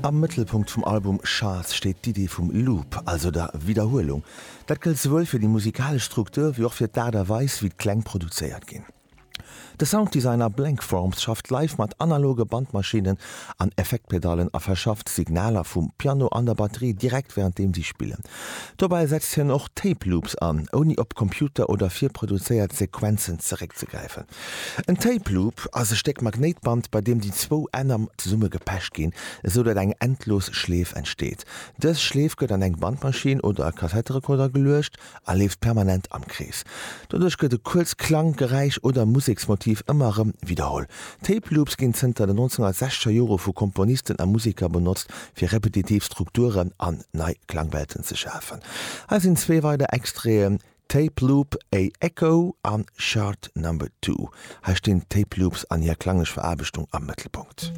Am Mëttelpunkt vum Album Shards steet d'Idee vum Loop, also der Widderhuelung. Dat gëllt souwuel fir déi musikalesch Struktur wéi och fir d'Aart a Weis, wéi d'Kläng produzéiert ginn. De Sounddesigner Blank Forms schafft live mat analoge Bandmaschinnen an Effektpedallen a verschafft Signaler vum Piano an der Batterie direkt wärenddeem si spillen. Dobäi setzt hien och Tape Loops an, ouni op Computer oder virproduzéiert Sequenzen zeréckzegräifen. En Tape Loop ass e Stéck Magnéitband, bei deem déi zwou Enner zesumme gepecht ginn, esou datt eng endlos Schleef entsteet. Dës Schleef gëtt an eng Bandmaschinn oder e Kassetterekorder geluecht a leeft permanent am Krees. Doduerch gëtt e kuerzt Klang-, Geräisch oder Museksmotiv ëmmer erëm widderholl. Tape Loops ginn zënter den 1960er Jore vu Komponisten a Museker benotzt, fir repetitiv Strukturen an nei Klangwelten ze schafen. Hei sinn zwee weider Extraiten, Tape Loop, A Echo an Chart Number Two. Hei stinn d'Tape Loops an hir klanglech Veraarbechtung am Mëttelpunkt.